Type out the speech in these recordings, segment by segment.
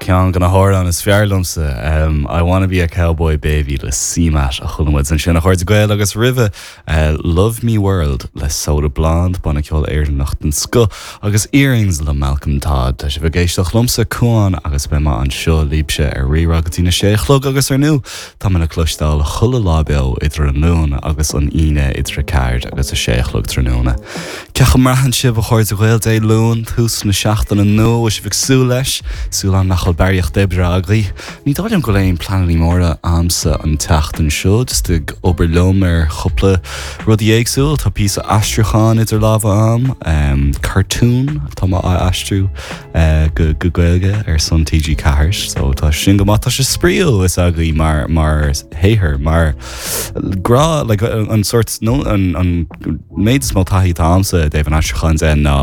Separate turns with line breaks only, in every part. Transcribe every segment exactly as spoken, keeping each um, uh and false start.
Ceann de na hamhráin is fearr liomsa um, I wanna be a cowboy baby le CMAT a chuala muid ansin a chairde Gael agus roimhe uh, Love Me World le Soda Blonde banna ceoil Éireannach den scoth agus Earrings le Malcolm Todd Tá sibh ag éisteacht liomsa Cuan agus beidh mé anseo libhse ar Rí-Rá go dtí na sé a chlog agus ar ndóigh tá mé le cloisteáil chuile lá beo idir an Luan agus an Aoine idir a ceathair agus a sé a chlog tráthnóna. Cén chaoi a mbraitheann sibh a chairde Gael Dé Luain tús na seachtaine nua sibh ag súil leis, súil nach bhfuil barraíocht oibre agaibh. Ní dóigh liom go bhfuil aon pleananna móra a'msa an tseachtain seo, just ag obair liom ar chúpla rudaí éagsúil, tá píosa aistriúcháin idir lámha a'm, um, cartoon tá mé á aistriú uh, go go Gaeilge ar son TG Ceathair, so tá sin go maith tá sé spraíúil is agaí mar mar shaothar mar grá like, an sort no an, an méid is mó taithí atá a'msa i dtaobh an aistriúcháin de ná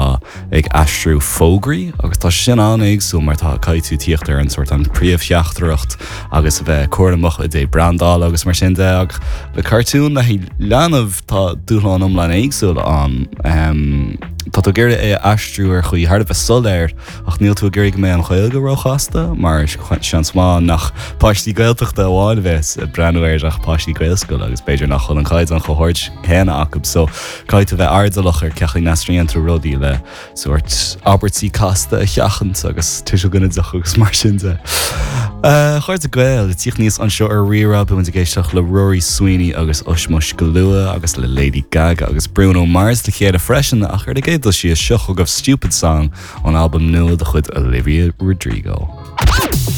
ag aistriú fógraí agus tá sin an-éagsúil mar tá caithfidh tú tíocht ar an sort an príomhtheachtaireacht agus a bheith cúramach i dtaobh brandáil agus mar sin de ach le cartún le leanbh tá dúshlán iomlán éagsúil ann. Um, tá tú ag iarraidh é a aistriú ar chaoi thar a bheith soiléir ach níl tú ag iarraidh go mbeidh an Ghaeilge róchasta mar seans maith nach páistí Gaeltachta amháin a bheas ag breathnú air ach páistí Gaelscoile agus b'fhéidir nach bhfuil an caighdeán chomh hard céanna acu so caithfidh tú bheith airdeallach ar cén chaoi a n-aistríonn tú rudaí le sort abairtí casta a sheachaint agus tuiseal ginideach agus mar sin de. Uh, Chairde Gael tíocht níos anseo ar Rí-Rá bhí ag éisteacht le Rory Sweeney agus Ushmush go luath agus le Lady Gaga agus Bruno Mars le chéile freisin ach ar an gcéad dul síos seo chugaibh Stupid Song ón albam nua de chuid Olivia Rodrigo.